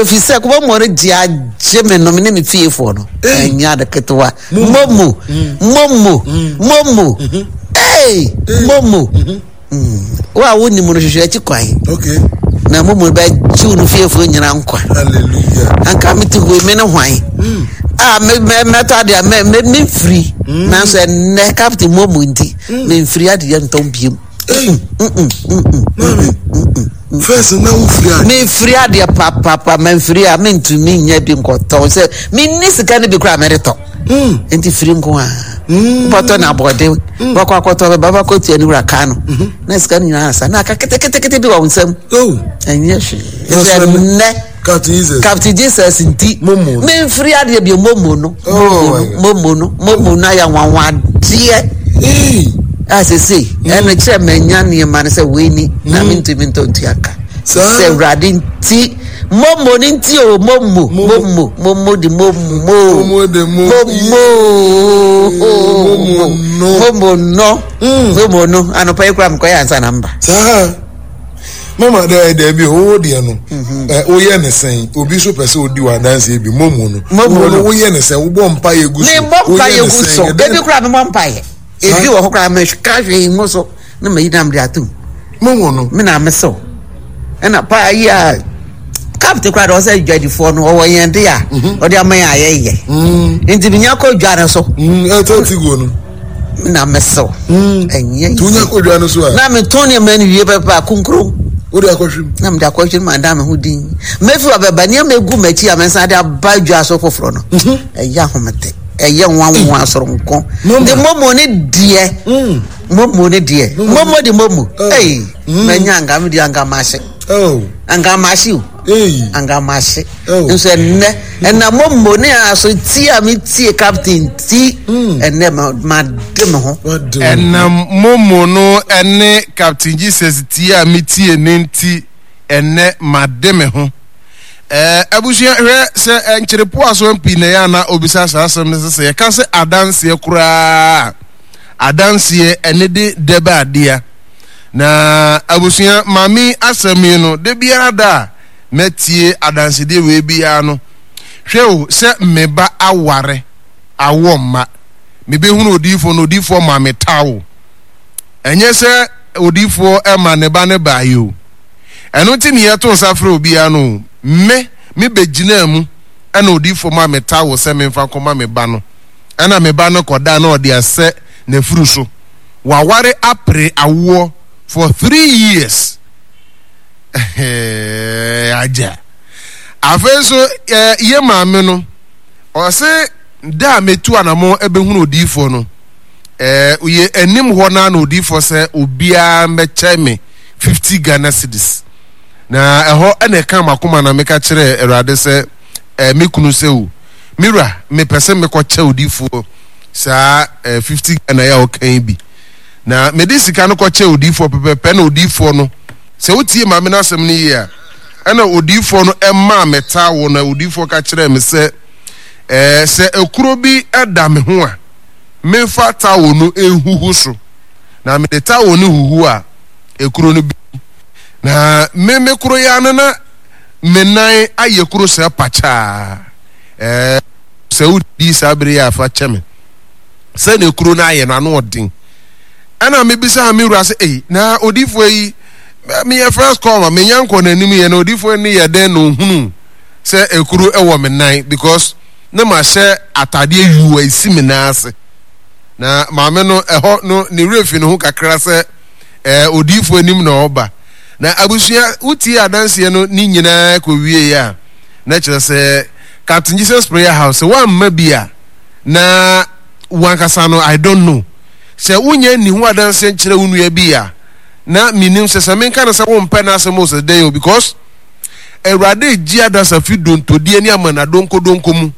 Efi sɛ momo no gye agye me no me ne me fiefoɔ no. Ɛnyɛ ade ketewa. Momo momo momo ee momo. Wo a wonim no hwehwɛ akyi kwan. Okay. Na momo bɛgye wo no fiefoɔ nyina nkwa. Hallelujah. Anka mete hɔ yi me ne hwan? A me me mɛtɔ ade a me me memfiri. Nanso ɛnnɛ Captain momo nti memfiri adeɛ ntɔn biom. Ei, maame, first na wofiri adeɛ. Mefiri adeɛ papapa, mamfiri a mentumi nyɛ bi nkɔtɔn sɛ menni sika no bi koraa mɛde tɔ. Mm. Nti firi nko a. Mm. Bɔtɔ na abɔde, mm. bɔkɔ akɔtɔ bɛba bɛkɔ tua ne wura kaa no. Mm-hmm. Na sika no nyinaa asa na aka ketekete bi wɔ wo nsam. Oh. Ɛnyɛ hwee. Nti ɛnnɛ. Captain Jesus. Captain Jesus nti. Momo. Memfiri adeɛ bi momo no. Oh momo no momo no ayɛ nwanwadeɛ. Hey. A sese ɛno kyerɛ manya nneɛma no sɛ wei ni na Mm. mentumi ntɔ ntua ka. Saa. Sɛ Awurade nti momo no nti o momo momo momo de momo. Momo de mo. Momo. Momo no. Momo no. Mm. Momo no anɔpa yi koraa mekɔyɛ ansa na mba. Saa. Mama dɛ dɛbi o deɛ no ɛ woyɛ ne sɛn obi nso pɛ sɛ odi wɔ adanseɛ bi momo no Momo no. woyɛ ne sɛn wobɔ mpa yɛ gu so mebɔ mpa woyɛ yɛ ne gu sɛn, so ɛdɛn- ebi koraa mebɔ mpa yɛ ebi wɔ hɔ koraa meka hwee ngu so na mayi nam de atom momo no me na mesew ɛna paa yi a kapte koraa de ɔsɛ dwadifoɔ no ɔwɔ yɛn de a ɔde ama yɛn a yɛyɛ nti menya kɔ dwa no so ɛtɔ ti guo no me na mesew ɛnyɛ nti wonya kɔ dwa no so a na metɔn nneɛma no wie pɛpɛ a kunkun wode akɔhwem na mede akɔhwɛ no ma da me ho din mɛfi wa bɛba nneɛma egu m'akyi a mɛsan de aba dwa so foforɔ no ɛyɛ ahomete ɛyɛ nwanwa soronko Momo. de momo ne deɛ momo ne deɛ momo de momo ei mɛnya anka me deɛ anka mahye oh anka mahye o ei anka mahye Oh. nso ɛnnɛ ɛna momo ne aso tie a metie captain ti ɛnnɛ ma made me ho wade wo. Ɛnam momo no ne Captain Jesus tie a metie no nti, ɛnnɛ made me ho. Ɛɛ, abusua, hwɛ sɛ nkyerepoa so pii na ɛyɛ a na obisa saa asɛm no sɛ sɛ yɛka sɛ adanseɛ koraa a, adanseɛ ɛne de dɛbɛ adea. Na abusua, maame yi asɛm yi no, da biara da a mɛtie adansedeɛ wei biara no, hwɛ o, sɛ me ba aware awoɔ mma. Mebɛhunu odiyifoɔ no, odiyifoɔ maa me towel. Ɛnyɛ sɛ odiyifoɔ ma ne ba no baeɛ o. Ɛno nti ne yɛto nsa frɛ obiara no o. Me, me bɛgyinaa mu ɛna odiyifoɔ maa me towel sɛ memfa nkɔma me ba no. Ɛna me ba no kɔdaa na ɔde asɛ n'afuru so. Waware apere awoɔ for 3 years. Agya. Afei nso, yɛ maame no, ɔse da a metu anamɔ bɛhunu odiyifoɔ no, yɛ anim hɔ no na odiyifoɔ sɛ obiara mmɛkyɛ me 50 Ghana cedis. Na ɛhɔ ɛna ɛka m'akoma na meka kyerɛɛ Awurade sɛ, me kunu sɛ o, me wura, mepɛ sɛ mekɔkyɛ odiyifoɔ saa 50 Ghana yi a ɔka yi bi. Na mede sika no kɔkyɛ odiyifoɔ pɛpɛpɛ na odiyifoɔ no, sɛ wotie maame no asɛm no yie a, ɛna odiyifoɔ no ɛmaa me taawo na odiyifoɔ ka kyerɛɛ me sɛ, sɛ ekuro bi da me ho a, memfa taawo no nhuhu so. Na mede taawo no huhu a, ekuro no bi. Na me me koro ya no na me nan ayɛ kuro sɛ pakyaa. Sɛ wodi saa bere yi a fa kyɛ me. Sɛ na ekuro no ayɛ no ano ɔden. Ɛna mebisaa me wura sɛ, ei, na odiyifoɔ yi, meyɛ first call ma menya nkɔ n'anim yɛ na odiyifoɔ no yɛ dɛn na ohunu sɛ ekuro wɔ me nan because na mahyɛ atadeɛ yuu a esi me nan ase. Na maame no ɛhɔ no ne werɛ fi ne ho kakra sɛ ɛɛ odiyifoɔ anim na ɔba. Na abusua wotie adanseɛ no ne nyinaa kɔ wie a na kyerɛ sɛ Captain Jesus Prayer House sɛ woamma bi a na wankasa no I don't know sɛ wonya nni ho adanseɛ nkyerɛ wo nua bi a na menim sɛ sɛ menka no sɛ wompɛ n'asɛm o sɛ dɛn o because Awurade regye adasa fi dontodie ne amanadonkodonko mu.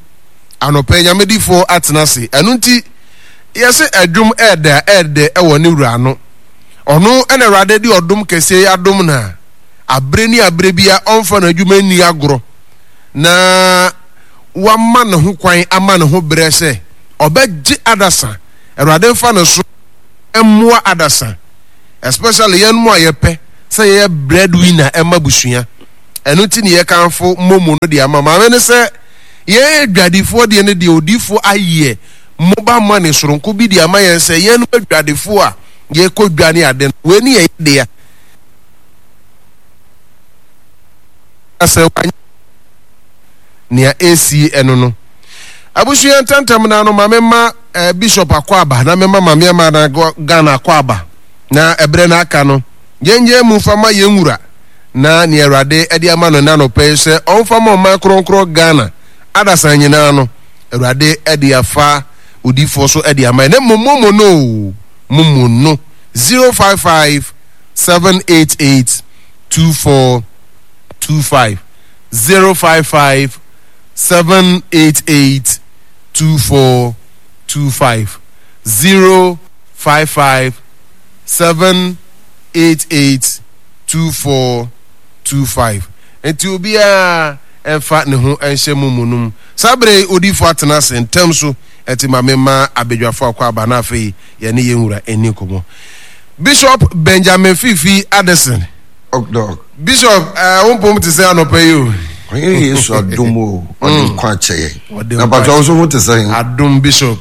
Anɔpa yi, Nyame difoɔ atena ase. Ɛno nti, yɛse ɛdwom ɛɛdɛ a ɛɛdɛ ɛwɔ ne wura ano. Ɔno ɛna Awurade de ɔdom kɛseɛ yi adom no a, abere ne abere bia ɔmfa n'adwuma nni agorɔ na wama ne ho kwan ama ne ho berɛ sɛ ɔbɛgye adasa. Awurade mfa ne so mmoa adasa, especially yɛn mu a yɛpɛ sɛ yɛyɛ breadwinner ɛma busua. Ɛno nti ne yɛkamfo momo no de ama maame no sɛ yɛn adwadifoɔ deɛ no deɛ odiyifoɔ ayɛ mobile money soronko bi de ama yɛn sɛ yɛn adwadifoɔ a yɛkɔ dwa ne ade no wei ne yɛyɛ dea sɛ wanyɛ nea ɛsi ɛno no abusua ntɛntɛm na no ma mema eh, bishop akɔ aba na mema maame ama na Ghana akɔ aba na ɛberɛ no aka no yɛnyɛ mu fa ma yɛn wura na nea Awurade de ama no nnanɔpɛ yi sɛ ɔmfa ma ɔman kronkron Ghana adasan nyinaa no Awurade de afa odifoɔ so de ama yɛn na mmom momo no o momo no 055 788 2425 055 788 2425 055 788 2425 Enti obiara mfa ne ho nhyɛ mo mu nom. Saa bere yi odiyifo atena ase ntɛm so ɛte ma memma abadwafo akɔ aba na afei yɛne yɛn wura nni nkɔmmɔ. Bishop Benjamin Fifi Addison. Dɔk. Bishop, eh, wo mpom te sɛ anɔpa yi o. Ɔyɛ Yesu adom o, ɔde mm. nkwa akyɛ yɛn. Na patwa wo nso ho te sɛ. Adom Bishop.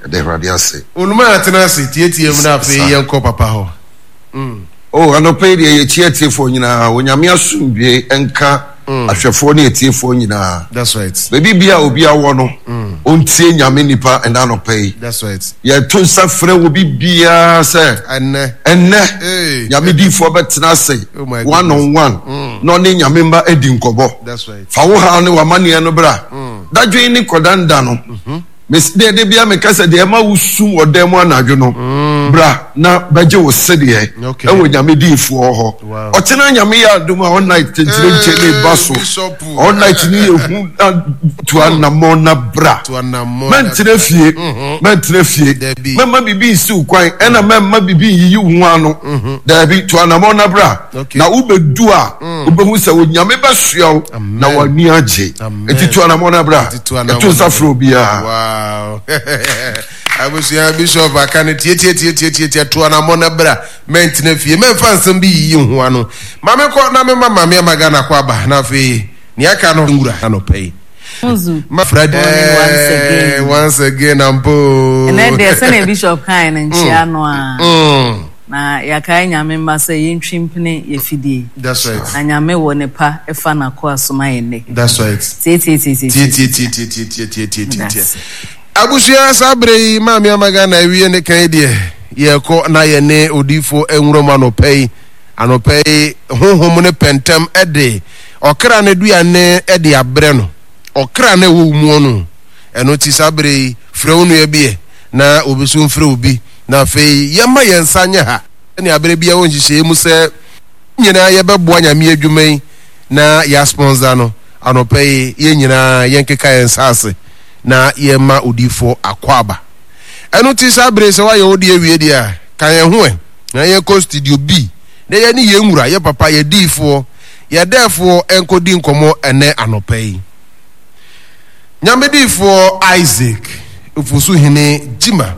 Ɛde Awurade ase. Onuma atena ase tietie mu na afei yɛnkɔ papa hɔ. Mm. Oh, anɔpa yi deɛ yɛkyia atiefoɔ nyinaa. Onyame asomdwoe nka mm. ahwɛfoɔ ne atiefoɔ nyinaa. That's right. Baabi bia obi awɔ no, mm. ɔntie Nyame nipa ɛna anɔpa yi. That's right. Yɛto nsa frɛ obi biara sɛ ɛnɛ ɛnɛ hey. Nyame diifoɔ bɛtena ase oh my one on one mm. na ɔne Nyame mma adi nkɔmmɔ. That's right. Fa wo haw ne w'amanneɛ no bra. Mm. Dadwen ne kɔdanda no. Mm -hmm. Mese deɛ da biara meka sɛ deɛ ɛma wo sum wɔ dan mu anadwo no mm. bra na bɛgye wo sedeɛ ɛwɔ nyame diifoɔ hɔ ɔkyena nyame yɛ adom a all night kyenkyere nkyɛ ne ba so all night ne yɛ hu tu anammɔn na bra mɛntena fie mhm. mɛntena fie mɛma biribi nsi wo kwan ɛna mɛma biribi nyiyi wo ho ano mhm. daabi tu anammɔn na bra na wobɛdu a mm. wobɛhu sɛ onyame bɛsoa wo na w'ani agye nti tu anamɔ no bra ɛto nsa frɛ obiara wow abusua bishop aka no tietietietietietie to anamɔ no bra mɛntena fie mɛmfa nsɛm bi yiyi ho ano ma mekɔ na mema maame ama Ghana kɔ aba na afei nea aka no nwura anɔpa yi Nzu. Ma Friday Morning once again. Once again ampo. Ɛnɛ deɛ sɛnea Bishop kae no nkyia no a. Mm. Na yɛakae Nyame mma sɛ yɛntwi mpene yɛfidie. That's right. Na Nyame wɔ ne pa ɛfa n'akoa so ma yɛn nnɛ. That's right. Tietietie. Tietietie. Abusua saa bere yi maame ama Ghana awie ne kan deɛ yɛkɔ na yɛne odiifo nwura mu anɔpa yi anɔpa yi honhom ne pɛntɛm ɛde ɔkra no aduane ɛde abrɛ no ɔkra no ɛwɔ mu no ɛno ti saa bere yi frɛ wo nua bi ɛ na obi so mfrɛ obi na afei yɛma yɛn nsa nyɛ ha ne abere biara wɔ nhyehyɛeɛ mu sɛ nyinaa yɛbɛboa nyame adwuma yi na yɛasponsor no anɔpa yi yɛn nyinaa yɛnkeka yɛn nsa ase na yɛma odiifoɔ akwaaba ɛno ti saa bere sɛ woayɛ wo deɛ awie deɛ a ka yɛn ho ɛ na yɛnkɔ studio B na yɛne yɛn wura yɛ papa yɛ diifoɔ yɛ dɛɛfoɔ nkɔdi nkɔmmɔ ɛnɛ anɔpa yi Nyame diifoɔ Isaac Ofosuhene Gyima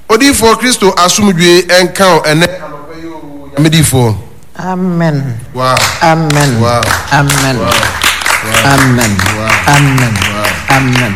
Odiyifoɔ Kristo asomdwie nka wo ɛnɛ anɔpa yi oo Nyame diyifoɔ. Amen. Wow. Amen. Wow. Amen. Wow. Wow. Amen. Wow. Amen. Wow. Amen.